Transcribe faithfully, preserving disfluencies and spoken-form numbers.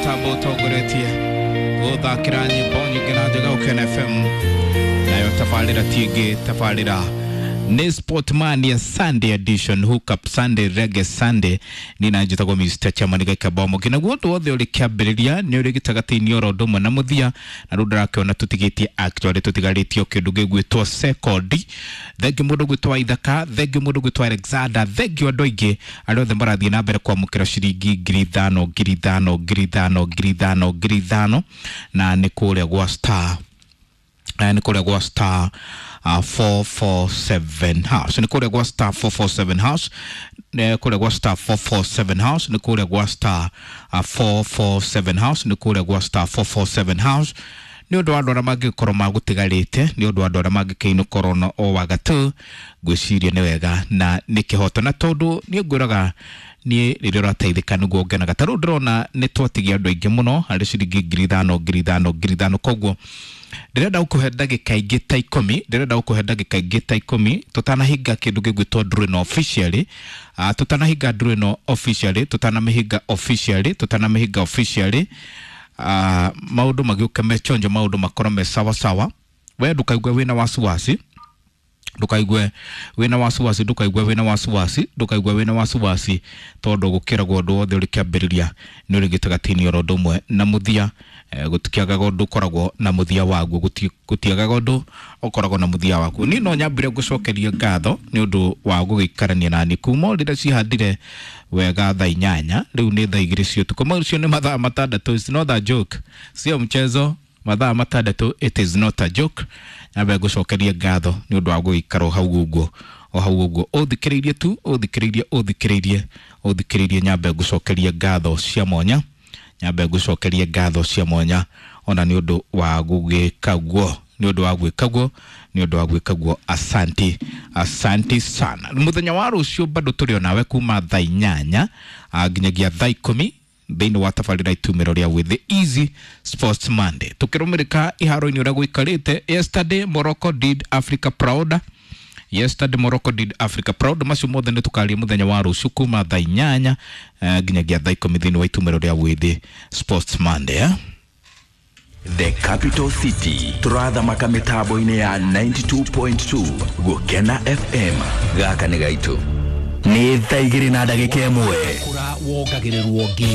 Mũtambo ũtongoretie gũthakĩra nyĩmbo nyingĩ na njega Gũkena F M, nayo tabarĩra ti ĩngĩ, tabarĩra nĩ Sportmania Sunday edition, Hook Up Sunday, Reggae Sunday. Ni na njĩtagwo Mister Chairman Gĩkabomo. Kĩnaguo ũndũ wothe ũrĩ kĩambĩrĩria nĩ ũrĩ gĩtagatĩ-inĩ oro ũndũ ũmwe na mũthia, na rĩu ndĩrakĩona tũtigĩtie actually tũtigarĩtie o kĩndũ gĩgwĩtwo sekondi. Thengiũ mũndũ gwĩtwo Ithaka, thengiũ mũndũ gwĩtwo Alexander, thengiũ andũ aingĩ arĩa othe marathiĩ na mbere kwamũkĩra ciringi ngiri ithano, ngiri ithano, ngiri ithano, ngiri ithano, ngiri ithano, na nĩ kũrĩa gwa Star, nĩ kũrĩa gwa Star Uh, four four seven house, nĩ kũrĩa gwa star four four seven house, nĩ kũrĩa gwa star four four seven house, nĩ kũrĩa gwa star uh, four four seven house, nĩ kũrĩa gwa star four four seven house. Nĩ ũndũ wa andũ arĩa mangĩkorwo magũtigarĩte, nĩ ũndũ wa andũ arĩa mangĩkĩinũkorwo na o wagatũ, ngwĩciria nĩ wega na nĩ kĩhoto, na tondũ niĩ ngwĩraga niĩ rĩrĩa ũrateithĩka nĩguo ngenaga. Ta rĩu ndĩrona nĩ twatigia andũ aingĩ mũno harĩ ciringi ngiri ithano, ngiri ithano, ngiri ithano, koguo ndĩrenda gũkũhe ndagĩka ingĩ ta ikũmi, ndĩrenda gũkũhe ndagĩka ingĩ ta ikũmi tũtanahinga kĩndũ gĩgwĩtwo draw ĩno officially, uh, tũtanahinga draw ĩno officially, tũtanamĩhinga officially, tũtanamĩhinga officially, uh, maũndũ magĩũke me chonjo, maũndũ makorwo me sawa sawa. We ndũkaigue wĩna wasiwasi, ndũkaigue wĩna wasiwasi, ndũkaigue wĩna wasiwasi, ndũkaigue wĩna wasiwasi, tondũ gũkĩragwo ũndũ wothe ũrĩ kĩambĩrĩria nĩ ũrĩ gĩtagatĩ-inĩ oro ũndũ ũmwe na mũthia. Eh, gũtikĩagaga ũndũ ũkoragwo na mũthia waguo, gũtiagaga ũndũ ũkoragwo na mũthia waguo. Niĩ no nyambire gũcokeria ngatho nĩ ũndũ wa gũgĩikarania nani kuma o rĩrĩa cihandire wega thaa inyanya, rĩu nĩ thaa igĩrĩ cia ũtukũ. Macio nĩ mathaa matandatũ, it's not a joke, sio mchezo, mathaa matandatũ, it is not a joke. Nyambe ngũcokerie ngatho nĩ ũndũ wa gũgĩikara o hau ũguo, o hau ũguo, ũthikĩrĩirie tu, ũthikĩrĩirie, ũthikĩrĩirie, ũthikĩrĩirie. Nyambe ngũcokerie ngatho cia mwanya, nyambe ngũcokerie ngatho cia mwanya ona nĩ ũndũ wa gũgĩka guo, nĩ ũndũ wa gwĩka guo, nĩ ũndũ wa gwĩka guo. Asanti, asanti sana. Mũthenya wa rũciũ bado tũrĩ onawe kuma thaa inyanya nginyagia thaa ikũmi thĩinĩ wa tabarĩra itumĩro rĩa With the Easy Sports Monday, tũkĩrũmĩrĩka iharo-inĩ ũrĩa gũikarĩte. Yesterday Morocco did Africa proud, yesterday Morocco did Africa proud. Macio mothe nĩ tũkaria mũthenya wa rũciũ kuma thaa inyanya nginyagia thaa ikũmi thĩinĩ wa itumĩro rĩa With the Sports Monday, eh? The Capital City tũrathamaka mĩtambo-inĩ ya ninety-two point two Gũkena F M. Gaka nĩ gaitũ. Nĩ thaa igĩrĩ na ndagĩka ĩmwe. Kũra wongagĩrĩrwo ngĩ.